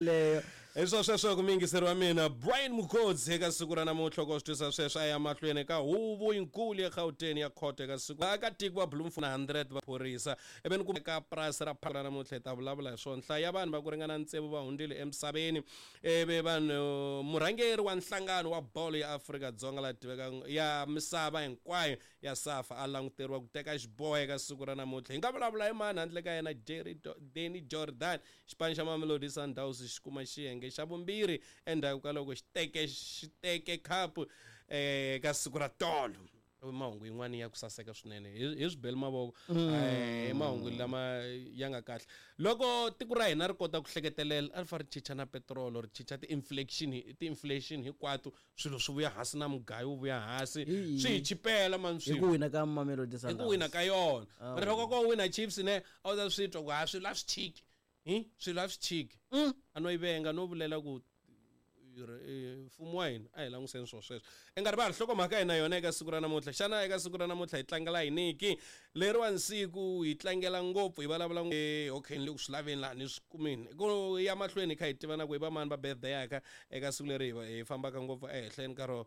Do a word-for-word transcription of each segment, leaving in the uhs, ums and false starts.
Leyo. Hi swo sweswo ku miyingiseri wa mina Brian Mukhodzi eka siku ra namuntlha loko swi twisa sweswo a ya mahlweni ka huvo yinkulu ya Gauteng ya khoto eka siku aka tiko wa Bloemfontein hundred va phorisa ivi ni ku ka purasi ra ra namuntlha hi ta vulavula hi swona nhlayo ya vanhu va ku ringana tsevu va hundzile emisaveni ivi vanhu murhangeri wa nhlangano wa bolo ya Afrika-Dzonga la tivekaka ya misava hinkwayo ya SAFA a languteriwa ku teka xiboho eka siku ra namuntlha hi nga vulavula hi mani handle ka yena Jerry Danny Jordan xipano xa Mamelodi Sundowns xi kuma xiyenge xa vumbirhi endzhaku ka loko xi teke xi teke khapu eka siku ra tolo mahungu yin'wana ya ku saseka swinene hi hi swi beli mavoko eh mahungu lama ya nga kahle loko tiko ra hina ri kota ku hleketelela a ri fa ri chicha na petrol ri chicha ti-inflation ti-inflation hinkwato swilo swi vuya hansi na mugayo wu vuya hansi swi hi chipela mani Hi swilo ku wina ka Mamelodi hi ku Sundowns. wina ka yona mara loko ko wina Chiefs ne a wu ta swi twa ku ha swilo a swi chiki hi swilo a swi chiki a no yi venga no vulela ku mfumo wa hina a hi languseni swilo sweswo i nga rivali nhlokomhaka hina yona eka siku ra namuntlha xana eka siku ra namuntlha hi tlangela yiniki leriwani siku hi tlangela ngopfu hi vulavula okay ni le ku swi laveni laha ni swi kumini ku ya mahlweni hi kha hi tiva na ku i va mani va birthday yaka eka siku leri hi hi fambaka ngopfu ehenhleni ka rona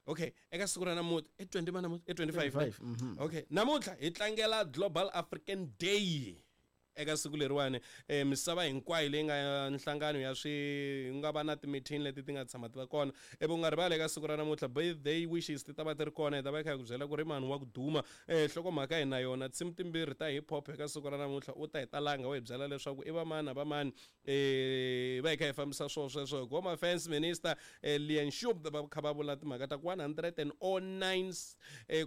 okay eka siku ra namuntlha i twenty ma namuntlha i twenty-five okay namuntlha hi tlangela Global African Day eka siku leriwani eh, misava hinkwayo leyi nga nhlangano ya swi nga va na ti-meeting leti ti nga tshama ti va kona ivi u nga rivali eka siku ra namuntlha birthday wishes ti ta va ti ri kona hi ta va hi kha hi ku byela ku ri mani wa ku duma eh, nhlokomhaka hi na yona tinsimu timbirhi ta hip hop eka siku ra namuntlha u ta hi talanga wa hi byela leswaku i va mani na va mani eh, va hi kha hi fambisa swona sweswo hi Home Affairs Minister eh, Leon Schoub va kha va vula timhaka ta ku one hundred and oh nine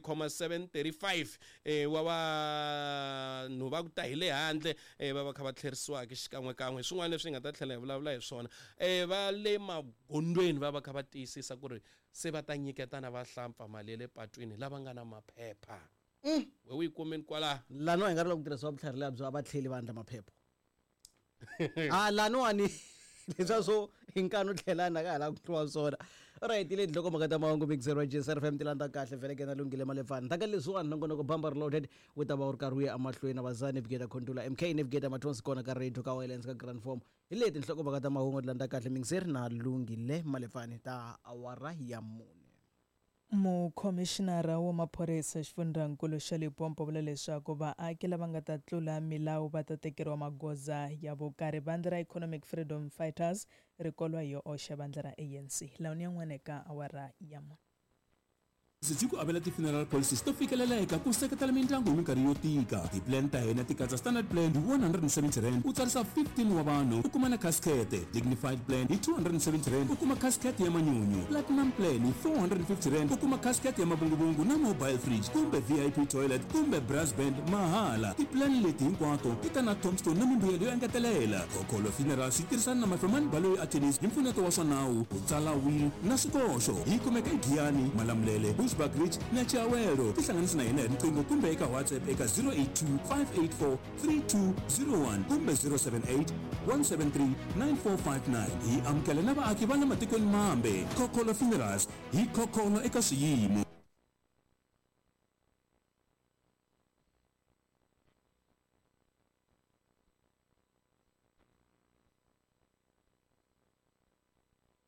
comma seven thirty-five eh, wa vanhu va ku ta hi le handle eh, va va kha va tlherisiwaka xikan'wekan'we hi swin'wana leswi hi nga ta tlhela hi vulavula hi swona eh, va le magondzweni va va kha va tiyisisa ku ri se va ta nyiketana vahlampfa mali ya le patwini lava nga na maphepha we u yi kumini kwalaha Laniwa hi nga ri loko ku tirhisiwa vutlhari lebyo a va tlheli va endla maphepha a laniwani leswiya swo hi nkani u tlhelana ka ha la ku tluwa swona alright le nhlokomhaka ta mahungu mixer wa J S R F M ti landza kahle vhele ke na Lunghile Malefani taka leswiwani nongonoko Bamba Reloaded wu ta va wu ri karhi wu ya emahlweni na vaza Navigator Contula M K Navigator Mathonsi kona ka radio ka Wireless ka Grand Form hi leti nhlokomhaka ta mahungu ti landza kahle mixer na Lunghile Malefani ta awara ya mune. Mukhomishinara wa maphorisa xifundzankulu xa Limpopo vula leswaku vaaki lava nga ta tlula milawu va ta tekeriwa magoza ya vukarhi. Vandla ra Economic Freedom Fighters ri kolwa hi yo oxa vandla ra A N C lawuni yan'wana eka awara ya mune. Yi ku avela ti-funeral policies to fikeleleka ku seketela mindyangu hi minkarhi yo tika. Ti-plan ta hina ti katsa standard plan hi one hundred and seventy rand, u tsarisa fifteen wa vanhu, u kuma na casket; dignified plan hi two hundred and seventy rand, u kuma casket ya manyunyu; platinum plan hi four hundred and fifty rand, u kuma casket ya mavunguvungu na mobile fridge kumbe V I P toilet kumbe brass band mahala. Ti-plan leti hinkwato ti ta na tombstone na mimbuyelo yo engetelela. Khokholo Funerals yi tirhisana na Mafemani Baloyi Attorneys hi mpfuneto wa swa nawu ku tsala will na swikoxo. Yi kumeka eGiyani, Malamulele, Bushbuckridge na Chiawelo. Tihlanganisi na hina hi riqingho kumbe eka WhatsApp eka zero eight two, five eight four three two zero one kumbe zero seven eight, one seven three nine four five nine. Hi amukela na vaaki va le matikweni mambe. Khokholo Funerals, hi khokholo eka swiyimo.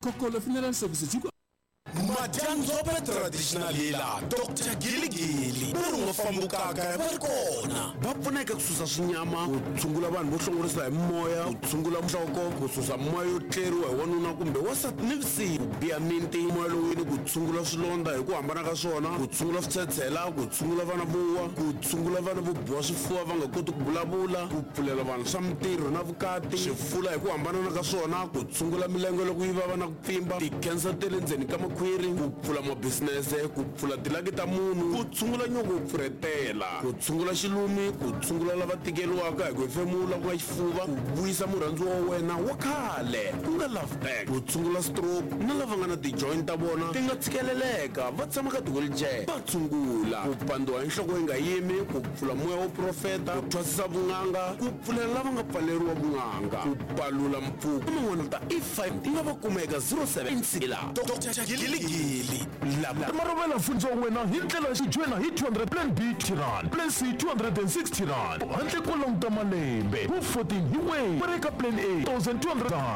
Khokholo Funeral Services yi ku Madyandzhope Traditional Healer Doctor Giligili va ri nga fambukaka va ri kona va pfuneka ku susa swinyama, ku tshungula vanhu vo hlongorisa hi moya, ku tshungula nhloko, ku susa moya yo tleriwa hi wanuna kumbe wasati nivusiku, ku biha minti moya lowini, ku tshungula swilondza hi ku hambana ka swona, ku tshungula switshetshela, ku tshungula vana vo wa, ku tshungula vana vo biwa swifuva va nga koti ku vulavula, ku pfulela vanhu swa mintirho na vukati, swifula hi ku hambanana ka swona, ku tshungula milenge loko yi vava na ku pfimba, ti-cancer ta le ndzeni ka makhwiri, ku pfula mabisinese, ku pfula tilaki ta munhu, ku tshungula nyoko wo pfurhetela, ku tshungula xilumi, ku tshungula lava tikeriwaka hi ku hefemula ku nga xifuva, ku vuyisa murhandziwa wa wena wa khale ku nga love back, ku tshungula stroke na lava nga na ti-joint ta vona ti nga tshikeleleka va tshama ka ti-wheelchair va tshungula, ku pandziwa hi nhloko yi nga yimi, ku pfula moya wo profeta, ku thwasisa vun'anga, ku pfulela lava nga pfaleriwa vun'anga, ku palula mpfuko na man'wana ta E five ti nga va kuma eka zero seven la Doctor Giligili lava. Marovela fundza wena hi ndlela xi joyina hi two hundred, plan B rand, plan C two hundred and sixty rand, handle ko languta malembe wu fourteen hi way. Ku ri ka plan A one thousand two hundred rand.